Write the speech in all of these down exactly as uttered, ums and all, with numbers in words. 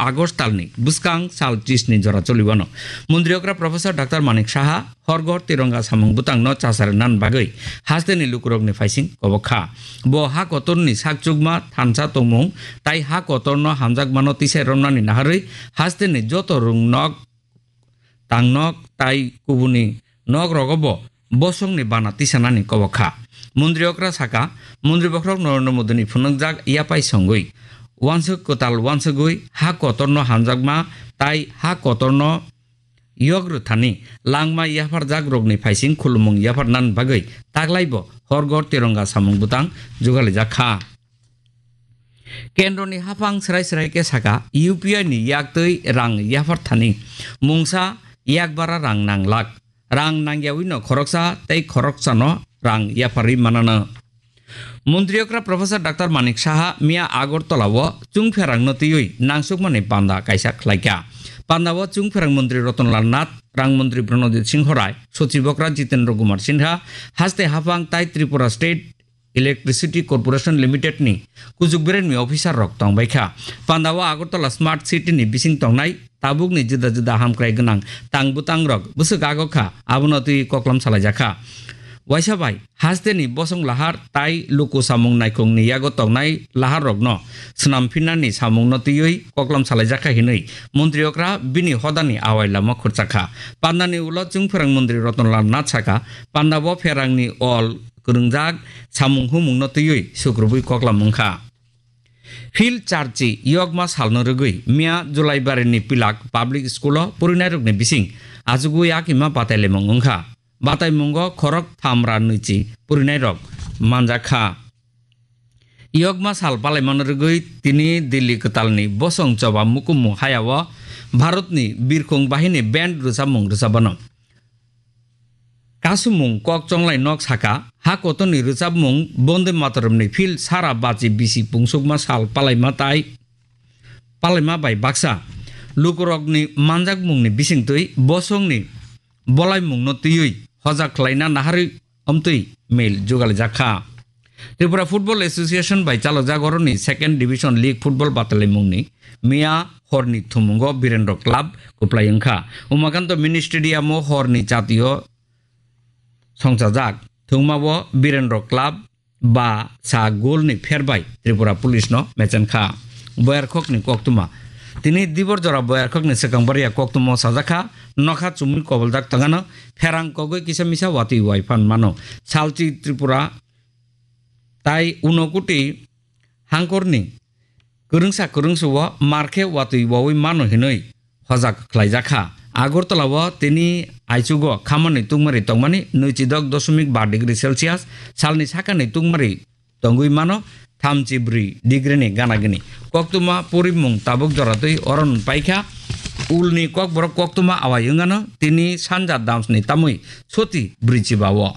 August talni bwskang sal tris ni jora choliwano. Mondri okra Professor Doctor Manik Saha horgor tironga samung bwtangno chasar nan bagwi hasteni lukurokni phaising kobok kha. Bo ha kotorni sakchukma thansa tongmung tai ha kotorno hamjakmano tisai romnani naharwi hasteni joto rung nok tangnok tai kubuni nok rogo bo bosongni bana tisanani kobok kha. Mondri okra saka, Mondri bokhorok Narendra Modini phunukjak yapai songwi, wansuk kwtal wansugwi ha kotorno hamjakma tai ha kotorno yok rwthani langma yapharjak rokni phaising khulumung yapharnani bagwi taklaibo horgor tironga samung bwtang jugalijak kha. Kendroni haphang srai srai khe saka, U P I ni yaktwi rang yapharthani mungsa yakbara rang nanglak. Rang nangyawi no khoroksa tei khoroksano rang yapharwi manano. Mondri okra Professor Doctor Manik Saha miya Agartala o chungpherang no twiwi nangsukmani panda kaisa khlaikha. Panda o chungpherang Mondri Ratan Lal Nath, Rang Mondri Pranodip Singho Rai, Sochib okra Jitendra Kumar Sinha, haste haphang tai Tripura State Electricity Corporation Limited ni kuchuk beremni officer rok tongbai kha. Panda o Agartala Smart City ni bising tongnai tabukni juda juda hamkrai gwnang tang bwtang rok bwswk agok kha, abono twi koklam salaijak kha. Waisa bai hasteni bosong lahar tai luku samung naikhungni yago tongnai lahar rokno swnam phinnani samungno twiwi koklam salaijak kha hinwi Montri okra bini hodani awai lama khurchak kha. Pandani ulo chungpherang Montri Ratan Lal Nath saka, panda bo pherangni ol kwrwngjak samung humungno twiwi sukrubwi koklam wngkha. Phil Charchi yokma salno rwgwi miya Julaibarini Pilak Public School-o purinairokni bising achugwi yakima batailaimung wngkha. Bataimungo khorok thamra nwichi purinairok manjak kha. Yokma sal palaimano rwgwi tini Delhi kwtalni bosong choba mukumu hayao Bharatni birkhung bahini band rwchapmung rwchapano. Kasumung kok chonglai nok saka, ha kotorni rwchapmung Bonde Mataramni phil sara bachi bisi pungsukma sal palaima tai palaima bai baksa lukurokni manjakmungni bisingtwi bosongni bolaimungno twiwi hojak khlaina naharwi omtwi mail jugalijak kha. Tripura Football Association bai chalokjak oroni Second Division League Football batalaimungni miya horni thumungo Birendra Club kwplai wngkha. Umakanto Mini Stadium-o horni chatio songchajak thwngmao Birendra Club ba sa goal ni pher bai Tripura Police no mechen kha. Boyarkhokni koktwma. Tini dibor jora Boyarkhokni swkang baria koktwma sajak kha, nokha chumui koboljak tongano pherang kogwi kisa misa watwi wai phan mano. Salchi Tripura tai Unakoti hangkorni kwrwngsa kwrwngsa o mar khe watwi wawi mano hinwi hojak khlaijak kha. Agartala o tini aichugo khamani tungmari tongmani nwichidok dosmik ba degree Celsius, salni sakani tungmari tongwi mano thamchi bwrwi degree ni gana gini. Koktwma purimung tabuk joratwi oron paikha. Ulni kokborok koktwma awai wngano tini sanja damsni tamwi soti bwrwi chiba o.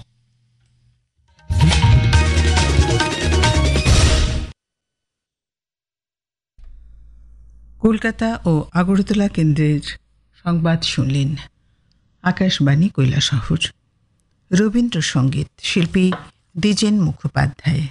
Kolkata ও আগরতলা কেন্দ্রের সংবাদ শুনলেন আকাশবাণী কৈলাসহর। রবীন্দ্রসঙ্গীত শিল্পী দ্বিজেন মুখোপাধ্যায়।